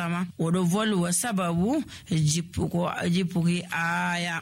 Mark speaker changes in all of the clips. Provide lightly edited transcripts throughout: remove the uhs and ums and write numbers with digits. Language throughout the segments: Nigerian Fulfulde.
Speaker 1: sallama oɗo volwa sababu jippuki aya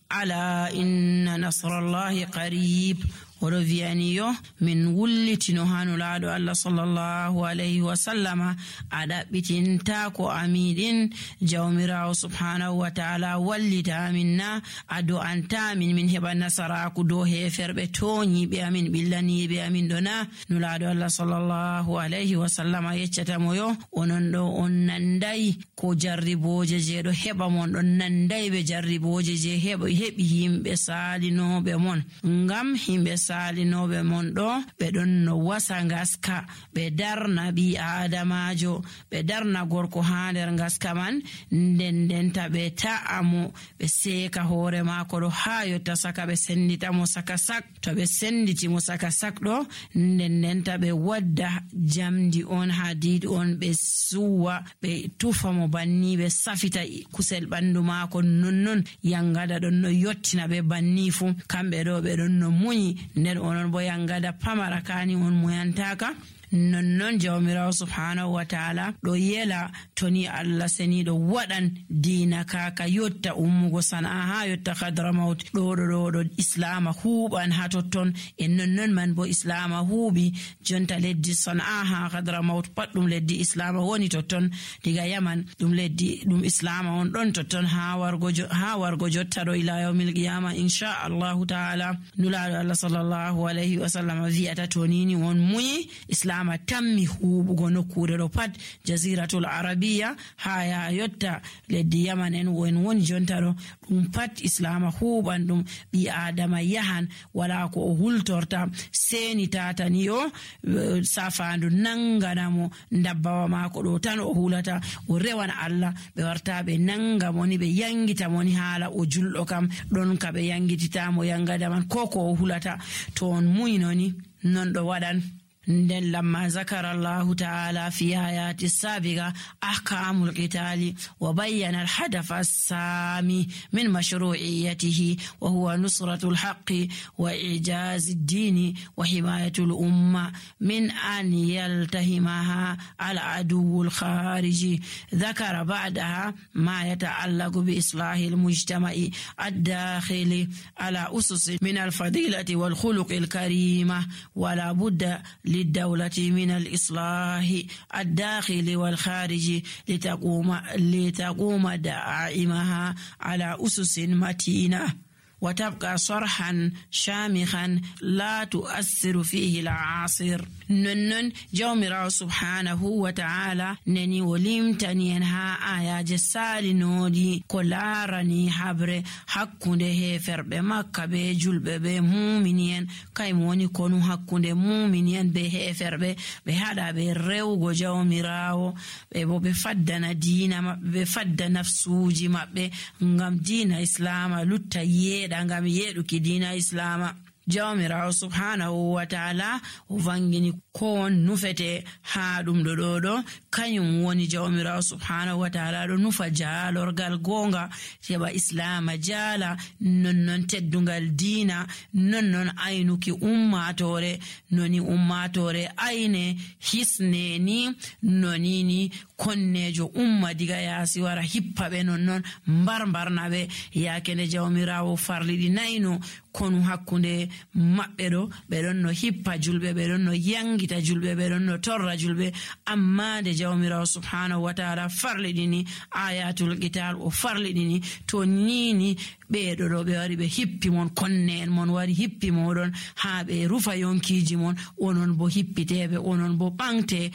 Speaker 1: ala inna nasrallahi qarib. oɗo wiyaniyo min wullitino hanulaɗo Allah sallallahu alayhi wa sallama a ɗaɓɓitinta ko amiɗin jawmirawo subhanahu wa ta'ala wallita amin na a do'anta min heɓa nasaraku dow heferɓe toñiɓe amin ɓillaniɓe amin ɗo na. nulaɗo Allah sallallahu alayhi wa sallama yeccatamo yo onon ɗo on nandayi ko jarriboje je ɗo heɓa mon, ɗon nandayi ɓe jarriboje je heɓi yimɓe salinoɓe mon. ngam himɓe salinoɓe mon ɗo ɓe ɗon no wasa ngaska ɓe darna ɓi adamajo, ɓe darna gorko ha nder ngaska man, ndendenta ɓe ta'amo ɓe seka hoore mako ɗo ha yotta saka ɓe senditamo saka sak. to ɓe senditimo saka sak ɗo ndendenta ɓe wadda jamdi on ha diidi on ɓe suwa ɓe tufamo banni ɓe safita kusel ɓandu mako nonnon yangada ɗon no yottina ɓe banni fu. kamɓe ɗo ɓe ɗon no muñi nden onon bo yangada pamara kani on muyantaka. nonnon jawmirawo subhanahu wa ta'ala ɗo yela toni Allah seniɗo waɗan dina kaka yotta ummugo sana'a ha yotta Hadramaut ɗo islama huɓan ha totton. e nonnon man bo islama huuɓi jonta leddi sana'a ha Hadramaut pat ɗum leddi islama woni totton. diga yaman ɗum islama on ɗon totton ha wargo jotta ɗo ila yawmil qiyama insha Allahu ta'ala. nulaɗo Allah sallallahu alayhi wa sallam wi'ata tonini won muyi islama tammi huɓugo nokkure ɗo pat jaziratul arabiya ha ya yotta leddi yaman en woni jonta ɗo ɗum pat islama huɓan ɗum. ɓi adama yahan wala ko o hultorta seni tatani o safandu nanganamo dabbawa mako ɗo tan o hulata o rewan Allah ɓe warta ɓe nanga moni ɓe yangita moni hala o julɗo kam ɗon ka ɓe yangititamo yangada man ko o hulata to on muynoni non ɗo waɗan. nden lamma zakara Allahu ta'ala fi ayati sabiqa ahkamul qitali wa bayyana al-hadafa as-sami min mashru'iyyatihi wa huwa nusratu al-haqqi wa i'jaz ad-din wa himayatu al-umma min an yaltahimaha al-adu al-khariji. ذكر بعدها ما يتعلق بإصلاح المجتمع الداخلي على أسس من الفضيلة والخلق الكريمة ولا بد للدولة من الإصلاح الداخلي والخارجي لتقوم دائمها على أسس متينة وتبقى صرحا شامخا لا تؤثر فيه العاصر. ننن جومرا سبحانه وتعالى نني ولمتني انها آيا جسالي نودي كلارني حبر حقنده فرب مكة بجلب بمؤمنين كيموني كونو حقنده مؤمنين بهفرب بهذا بريو جومراو بفدنا دينا بفد نفسوجي مبه ngam dina islama lutta yeeda ngam yeeduki dina islama. jawmirawo subhanahu wa ta'ala o vangini ko nufete ha ɗum ɗo kanyum woni jawmirawo subhanahu wa ta'ala ɗo nufa jaalorgal gonga heɓa islama jaala nonnon teddungal diina nonnon aynuki ummatore noni ummatore ayne hisneni nonini konnejo umma diga yaasi wara hippaɓe nonnon mbarnaɓe yakene jawmirawo farliɗi nayno konu hakkunde maɓɓe ɗo ɓe ɗon no hippa julɓe ɓe ɗon no yangita julɓe ɓe ɗon no torra julɓe amma nde jawmirawo subhanahu wa ta'ala farliɗini ayatul qital o farliɗini to nini ɓeɗo ɗo ɓe wari ɓe hippi mon konne en mon wari hippi moɗon ha ɓe rufa yonkiji mon onon bo hippiteɓe onon bo ɓangte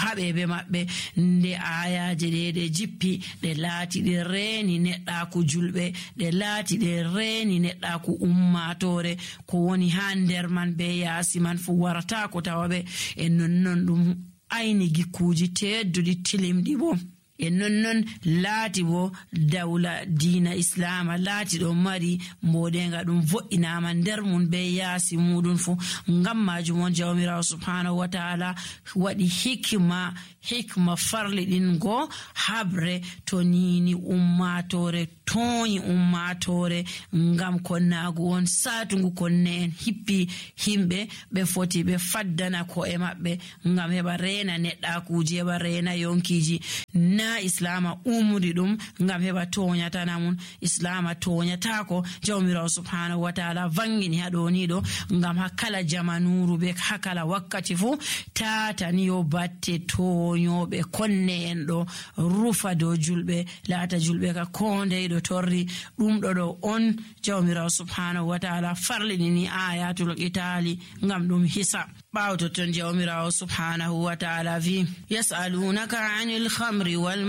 Speaker 1: haɓeɓe maɓɓe nde ayaje ɗe jippi ɗe laati ɗe reeni neɗɗaku julɓe ɗe laati ɗe reeni neɗɗaku ummatore ko woni ha nder man be yaasi man fu warata ko tawaɓe e nonnon ɗum ayni gikkuji tedduɗi tilimɗi bo e nonnon laati bo dawla diina islama laati ɗo mari mboɗenga ɗum vo'inama nder mum be yaasi muɗum fu. Ngam majum on jawmirawo subhanahu wa ta'ala waɗi hikma farli ɗin go habre to nini ummatore toyi ummatore ngam konnagu on satungu konne en hippi himɓe ɓe foti ɓe faddana ko'e maɓɓe ngam heɓa rena neɗɗakuji heɓa rena yonkiji. Na islama umri ɗum ngam heɓa toñatana mun, islama toñatako. Jawmirawo subhanahu wa ta'ala vangini haɗoniɗo ngam hakkala jamanuru ɓe hakkala wakkati fu tatani yo batte toñoɓe konne en ɗo rufa dow julɓe laata julɓe ka kondeyɗo torri ɗum ɗo on jawmirawo subhanahu wa ta'ala farlinini ayatul qitali ngam ɗum hisa. ɓawo totton jawmirawo subhanahu wa ta'ala vi yas'alunaka 'anil khamri wal